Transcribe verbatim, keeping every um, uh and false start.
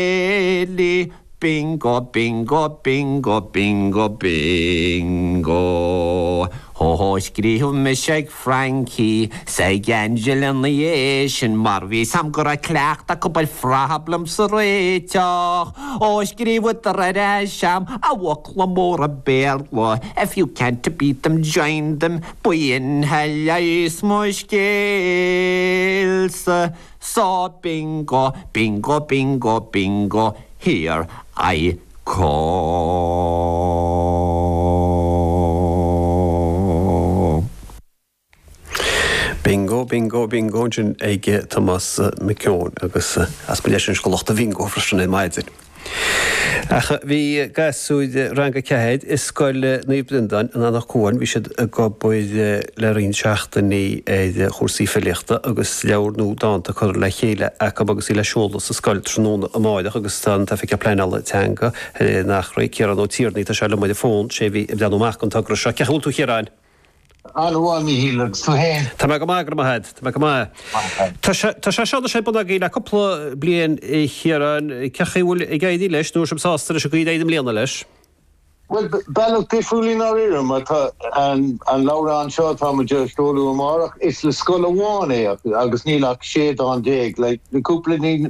Céilí Bingo bingo bingo bingo bingo Hó hó scríobh mise ag Frankie 's ag Angela ina dhiaidh sin mar bhí 's a'm go raibh cleachtadh acu ar phroblaim a réiteach Ó scríobhadar ar ais a'm i bhfocla móra Béarla If you can't beat them join them B'in a leigheas mo scéalsa So bingo bingo bingo bingo here I come. Bingo, bingo, bingo ansin ag Tomás Mac Eoin agus as mo leis an scolácht a bhingo freisin ar maidin. Ach bhí gasúir rang a ceathair i Scoil Naomh Breandán in Anach Cuain, bhí siad ag obair le roinnt seachtainí ar chúrsaí filíochta agus leabhar nua dánta curtha le chéile acu agus í le seoladh sa scoil tráthnóna amárach agus tá an tOifigeach Pleanála Teanga in Achréidh, Ciarán Ó Tiarnaigh, tá sé liom ar an bhfón, sé a bhí ag breathnú amach don togra seo. Cén chaoi a bhfuil tú a Chiaráin? An-mhaith, Míchíl, agus tú féin? Tá mé go maith, go raibh maith agat. Tá mé go maith. Tá sé tá sé seo ar bun agaibh le cúpla bliain a Chiaráin. Cén chaoi a bhfuil ag éirí leis nó an bhfuil sibh sásta leis an gcaoi ar éirigh i mbliana leis? Bhuel, bealach difriúil i ndáiríre, mar tá an an leabhrán seo atá muid a sheoladh amárach, is le scoil amháin é agus níl ach sé dán déag, like, le cúpla ní